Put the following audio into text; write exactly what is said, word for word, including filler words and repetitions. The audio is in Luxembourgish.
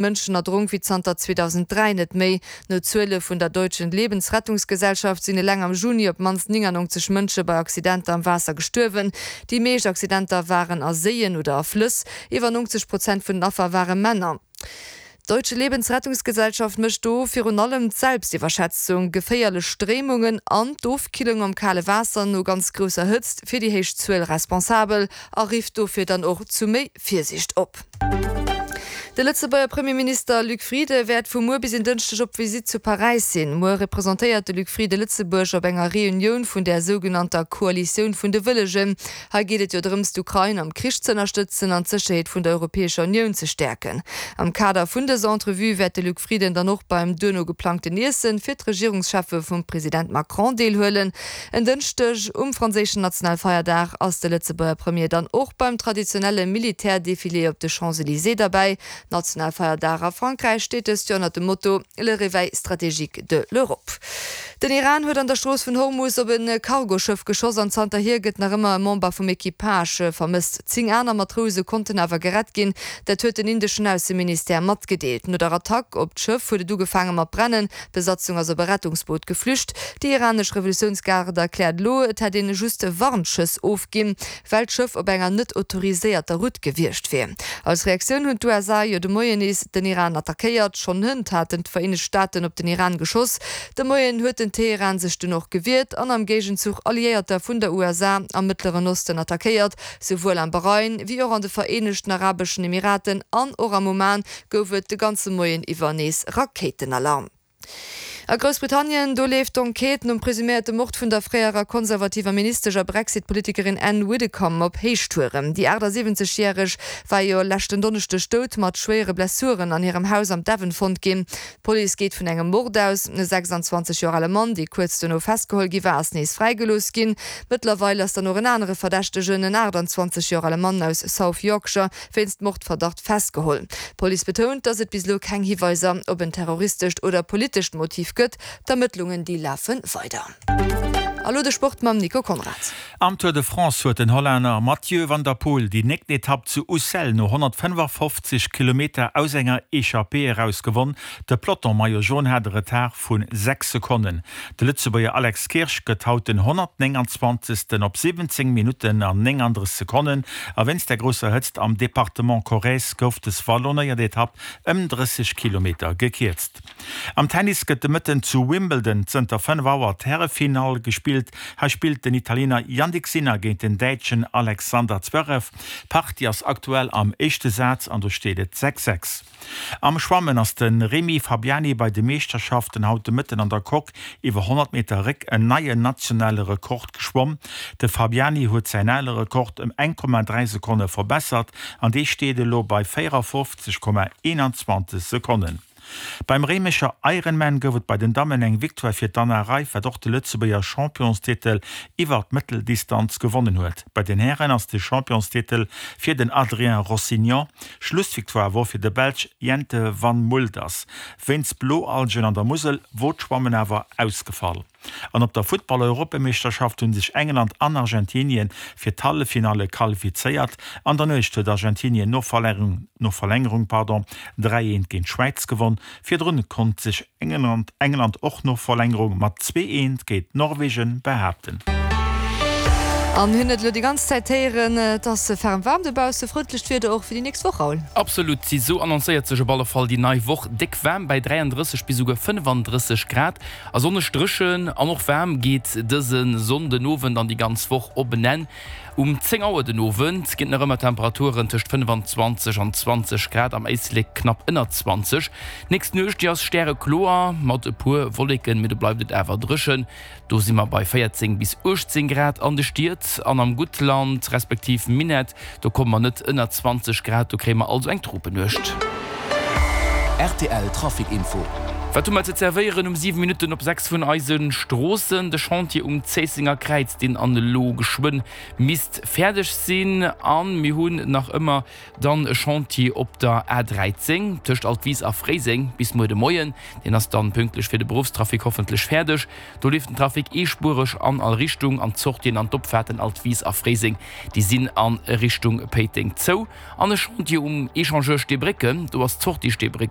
Mënschen erdronk wéi zanter zweedausenddräi net méi. No Zuele vun der Deutschen Lebensrettungsgesellschaft sinn eleng am Juni op d'mannst néngannonzeg Mënsche bei Accidenter am Waasser gestuerwen. Déi meescht Accidenter waren a Séien oder a Flëss. Iwwer neunzeg Prozent vun den Affer ware Männer. D'Deutsche Lebensrettungsgesellschaft mécht do virun allem d'Selbstiwwerschätzung, geféierlech Stréimungen an d'Ofkillung am kale Waasser no ganz grousser Hëtzt fir déi héich Zuel responsabel a rifft dofir dann och zu méi Virsiicht op. De Lëtzebuerger Premierminister Luc Frieden wäert vu muer bis en Dënschdeg op Visitt zu Paräis sinn. Muer representéiert de Luc Frieden Lëtzebuerg op enger Reunioun vun där sougenannter Koalitioun vun de Wëllegen. Hei geet et jo drëms, d'Ukrain am Krich z'ënnerstëtzen an d'Sécherheet vun der Europäescher Unioun ze stäerken. Am Kader vun dëser Entrevue wäert de Luc Frieden dann och beim duerno geplangten Iessen fir d'Regierungscheffe vum President Macron deelhuelen. En Dënschdeg, um franséischen Nationalfeierdag, ass de Lëtzebuerger Premier dann och beim traditionelle Militärdefilé op de Champs-Elysées derbäi. Nationalfeierdag a Frankräich steet dëst Joer ënnert dem Motto Le réveil stratégique de l'Europe. Den Iran huet an der Strooss vun Hormus op e Cargoschëff geschoss an zanterhier gëtt nach ëmmer e Member vum Equipage vermësst. Zéng aner Matrouse konnten awer gerett ginn, dat huet den indeschen Ausseministère matgedeelt. No der Attack op d'Schëff huet et ugefaange mat brennen, d'Besatzung ass op e Rettungsboot geflücht. Déi iranesch Revolutiounsgarde erkläert elo, et hätt een just Warnschëss ofginn, well d'Schëff op enger net autoriséierter Route gewiescht wier. Als Reaktioun hunn d'USA jo de Moien nees den Iran attackéiert. Schonn hënt haten d'Vereenegt Staaten op den Iran geschoss. De Moien huet den Teheran sech dunn och gewiert an am Géigenzuch Alliéierter vun der U S A am Mëttleren Osten attackéiert. Souwuel am Bahrain, wéi och an de Vereenegten Arabeschen Emiraten an och am Oman gouf et de ganze Moien iwwer nees Rakéitenalarm. A Groussbritannien, do leeft d'Enquête nom presuméierte Mord vun der fréierer konservativer Ministesch a Brexit-Politikerin Anne Widdecombe op Héichtouren. Déi achtasiwwenzeg järeg war jo leschten Donneschdeg dout mat schwéiere Blessuren an hirem Haus am Devon fonnt ginn. D'Police geet vun engem Mord aus. E sechsanzwanzeg Joer ale Mann, dee kuerz dono festgeholl gi war, ass nees fräigelooss ginn. Mëttlerweil ass dann och en anere Verdächtegen, en aachtanzwanzeg Joer ale Mann aus South Yorkshire, wéinst Mordverdacht festgeholl. D'Police betount, datt et bis elo keng Hiweiser op en terroristescht oder politescht Motiv gëtt. D'Ermëttlungen déi lafe weider. A lo de Sport mam Nico Conrad. Am Tour de France huet den Hollänner Mathieu van der Poel déi néngten Etapp zu Ussel no honnertfënnefafofzeg Kilometer aus enger Echappée eraus gewonn. De Peloton Maillot Jaune hat e Retard vu sechs Sekonnen. De Lëtzebuerger Alex Kirsch gëtt haut den honnertnénganzwanzegsten op siwwenzéng Minutten an néngandrësseg Sekonnen. A wéinst der grousser Hëtzt am Departement Corrèze gouf des wallonéiert Etapp ëm drësseg Kilometer gekierzt. Am Tennis gëtt de Mëtten zu Wimbledon zënter fënnef Auer d'Härefinall gespillt. Hei spillt den Italiener Jannik Sinner géint den Däitschen Alexander Zverev. D'Partie ass aktuell am éischte Saz an do steet et sechs, sechs. Am Schwammen ass de Rémi Fabiani bei de Meeschterschaften haut de Mëtten an der Coque iwwer honnert Meter Réck en neien nationale Rekord geschwomm. De Fabiani huet säin ale Rekord ëm eng Komma dräi Sekonne verbessert an dee steet elo bei véierafofzeg Komma eenanzwanzeg Sekonnen. Beim Réimecher Ironman gouf et bei den Dammen eng Victoire fir d'Anna Reiff, wat och de Lëtzebuerger Championstitel iwwer d'Mëtteldistanz gewonnen huet. Bei den Hären ass de Championstitel fir den Adrien Rossignon. Schlussvictoire wor fir de Belsch Jente Van Mulders. Wéinst Bloalgen an der Musel wor d'Schwammen awer ausgefall. An op der Futtball-Europameeschterschaft hu sech England an Argentinien fir d'Halleffinalle qualifizéiert. An der Nuecht huet Argentinien no Verlängerung no Verlängerung pardon, dräi eent géint d'Schwäiz gewonn. Virdrun konnt sech England England och no Verlängerung mat zwee eent géint Norwegen behaapten. An hunn et elo déi ganz Zäit héieren, et ass ferm waarm dobausse, frëndlecht Wieder och fir déi nächst Woch, Raoul? Absolut, esou annoncéiert sech op alle Fall déi nei Woch. Déck waarm bei dräiandrësseg bis esouguer fënnefandrësseg Grad a sonneg, dréchen an och waarm geet dëse Sonnden Owend an déi ganz Woch op en Enn. Um zéng Auer den Owend ginn et nach ëmmer Temperaturen tëscht fënnefanzwanzeg an zwanzeg Grad, am Éislek knapp ënner zwanzeg. D'nächst Nuecht, déi ass stärekloer mat e puer Wolleken, mee do bleift et awer dréchen. Do si mer bei véierzéng bis uechtzéng Grad an de Stied an am Guttland respektiv Minett, do komme mer net ënner zwanzeg Grad, do kréie mer also eng Tropenuecht. Rtl Trafic Info. Wat hu mer ze zerwéieren um siwe Minutten op sechs vun eise Stroossen? De Chantier um Zéissenger Kräiz, deen an elo geschwënn misst fäerdeg sinn. A mir hunn nach ëmmer dann e Chantier op der A dräizéng tëscht Altwis a Fréiseng bis muer de Moien. Deen ass dann pünktlech fir de Beruffstrafic hoffentlech fäerdeg. Do leeft den Trafic eespuereg an all Richtung an d'Sortien an d'Opfaarten Altwis a Fréiseng, déi sinn a Richtung Péiteng zou. An e Chantier um Echangeur Steebrécken, do ass d'Sortie Steebrécken.